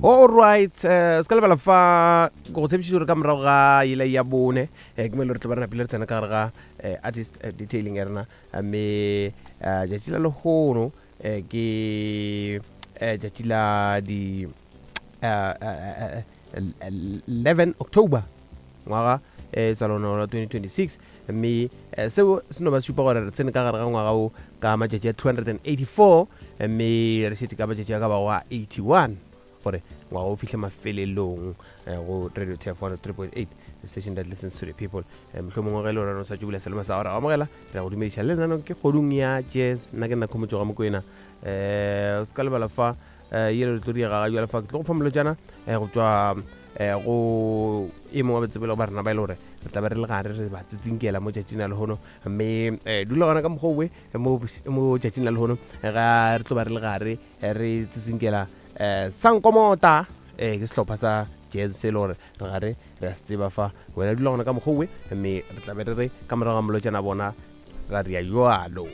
Alright, eh, se ka lebala fa ke go tshepišitše gore ka morago ga yela ya bone eh, ke mo e le gore tlo ba re napile re tsena ka gare ga eh, artist eh, detailing ya rena Eh, mme eh, tšatši la lehono eh, ke eh, tšatši la di eh, eh, eh, 11 October ngwaga eh, sa lona la 2026 mme eh, seo se no ba se šupa gore re tsene ka gare ga ngwaga wo ka matšatši a 284 mme re šetše ka matšatši a ka bago a 81 gore ngwaga o fihle mafelelong eh, go radio tf 103.8 the station that listens to the people. Eh, mohlomongwe ge e le gore o sa tšubula selema sa gore amogela re go dumediša le nano ke kgodung ya jazz. Nna ke nna Khomotšo ga Mokwena. Um o se ka lebala fa um ye re tlo diega ga jale fa ke tlo go fa molotšana um go tšwa um go e mongwe wa betsebelo ba rena ba e le gore re tla be re le gare re ba tsitsinkela mo tšatšing la lehono, mme um dula gona ka mokgwa owe mo tšatšing la lehono ga re tlo ba re le gare re tsitsinkela um Sankomota. Um ke sehlopha sa jazz se e le gore re gare re a se tseba fa. Wena dula gona ka mokgwa owe, mme re tla be re re ka morago ga molotšana bona ra ria jalo.